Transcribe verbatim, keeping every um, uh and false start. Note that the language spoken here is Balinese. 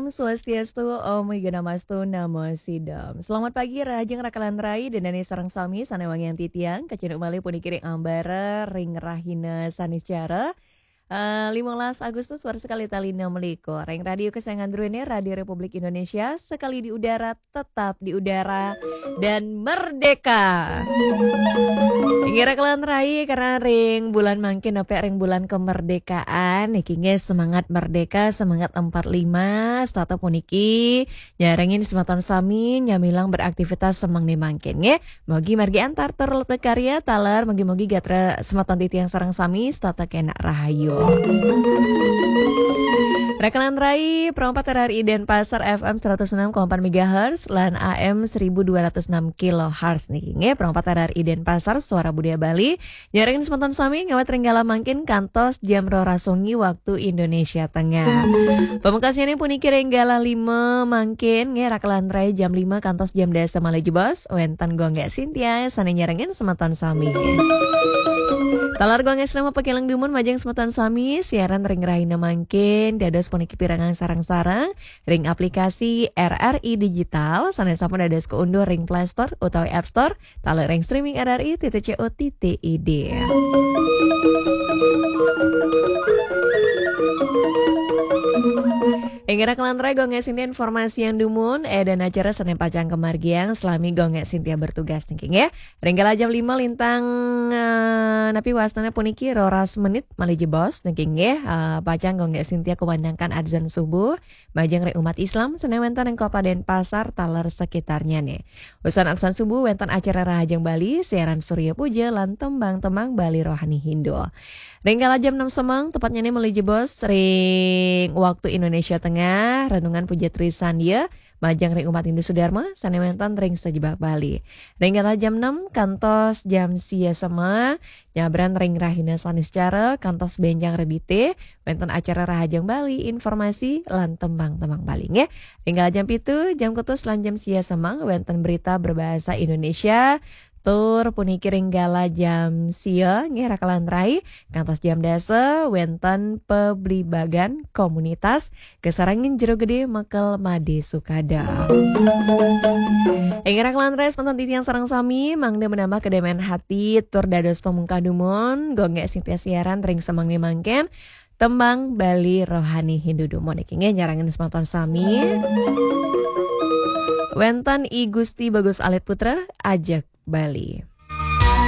Swastiastu, Om Awighnamastu Namo Sidham. Selamat pagi, rahajeng rakalan rai, danane sareng sami sane wangiang titiang, kacunduk malih puniki ring ambara ring rahina Saniscara, eh, lima belas Agustus warsa kalih tali enam likur. Ring radio kesayangan druene, Radio Republik Indonesia, sekali di udara, tetap di udara, dan merdeka. Inggih rakalan rai, karena ring bulan mangkin, nepi ring bulan kemerdekaan, niki nggih semangat merdeka, semangat empat lima, setata puniki nyarengin semeton sami nyamilang beraktivitas semeng ne mangkin nggih. Mogi margi antar tur lebet karya taler, mogi-mogi gatra semeton titiang sareng sami setata kena rahayu. Rakalan rai, perempat R R I Denpasar F M seratus enam koma empat megahertz lan A M seribu dua ratus enam kilohertz niki nggih, perempat R R I Denpasar, Suara Budaya Bali. Nyarengin semeton sami ngawit ring galah mangkin kantos jam roras wengi waktu Indonesia Tengah. Pamungkasnyané puniki ring galah lima mangkin, nggih, rakalan rai jam lima kantos jam dasa malih jebos, wénten Gung Gék Sintia sané nyarengin semeton sami. Taler Gung Gék Sintia pakialang dumun majeng semeton sami, siaran ring rahina mangkin, dados puniki pirengang sareng-sareng ring aplikasi R R I Digital, sané sampun dados kaunduh ring Play Store utawi App Store, taler ring streaming R R I titik co titik I D. Inggih rakalan rai, Gung Gék Sintia informasiang dumun, eh, dan acara sané pacang kamargiang salami Gung Gék Sintia bertugas niki nggih. Ring galah jam lima lintang, eh, napi wastané puniki roras menit malih jebos niki nggih, eh, pacang Gung Gék Sintia kumandangkan adzan subuh majeng ring umat Islam sané wénten ring Kota Denpasar taler sekitarnyané. Wusan adzan subuh wénten acara Rahajeng Bali, siaran Surya Puja lan tembang-tembang Bali Rohani Hindu. Ring galah jam enam semeng, tepatnyané malih jebos ring waktu Indonesia Tengah, renungan Puja Trisandya majeng ring umat Hindu Sudarma sané wénten ring sajebag Bali. Ring galah jam enam kantos jam sia semeng, nyabran ring rahina Saniscara kantos bénjang redité, wénten acara Rahajeng Bali, informasi lan tembang-tembang Bali nggih. Ring galah jam pitu, jam kutus lan jam sia semeng wénten berita berbahasa Indonesia. Tur puniki ring galah jam sia nggih rakalan rai kantos jam dasa wénten pablibagan komunitas kasarengin Jero Gedé Mekel Madé Sukada. Inggih rakalan rai semeton titiang sareng sami mangda menambah kedamaian hati tur dados pamungkah dumun, Gung Gék Sintia siaran ring semengné mangkin. Tembang Bali Rohani Hindu dumun niki nggih nyarengin semeton sami. Wénten I Gusti Bagus Alit Putra, Ajeg Bali.